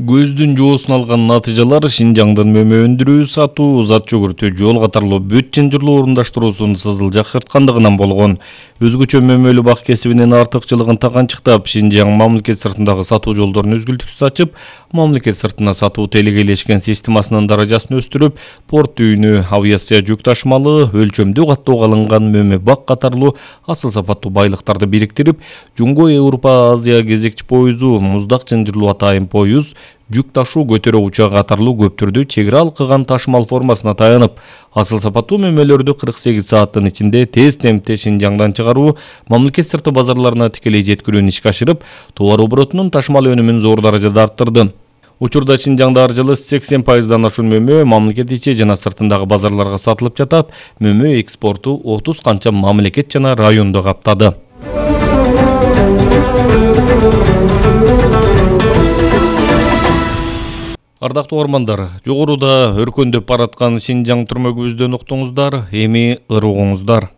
Көздүн жоосун алган натыйжалар Шинжаңдын мөмө өндүрүү, сатуу, зат жүгүртүү, жол катарлуу бүт чынжырлуу орундаштыруусун сызылжакырткандыгынан болгон. Өзгөчө мөмөлүү бак кесибинин артыкчылыгын таганчыктап, Шинжаң мамлекет сыртындагы сатуу жолдорун үзгүлтүксүз ачып, мамлекет сыртына сатуу телегейлешкен системасынын даражасын өстүрүп, порт үйүнү, авиация жүк ташымалы, өлчөмдүү каттоого алынган мөмө бак катарлуу асыл сапаттуу байлыктарды бириктирип, Жумго Европа Азия кезекчи поюзу, муздак чынжырлуу атайын поюз, жүк ташуу көтөрө учагы катарлуу көптөрдү чек ара алкыган ташымал формасына таянып, асыл сапаттуу мөмөлөрдү 48 сааттын ичинде тез темпте Шинжаңдан чыгаруу, мамлекет сырты базарларына тикелей жеткирүүнү ишке ашырып, товар оборотунун ташымал өнүмүн зор даражада арттырды. Учурда Шинжаңда ар жылы 80%дан ашуун мөмө мамлекет ичи жана сыртындагы базарларга сатылып жатат. Мөмө экспорту 30 канча мамлекет жана районду каптады. Ардактуу угармандар, жогоруда өркөндөп бараткан Шинжаң түрмөгүбүздөн уктуңуздар, эми ырыгыңыздар.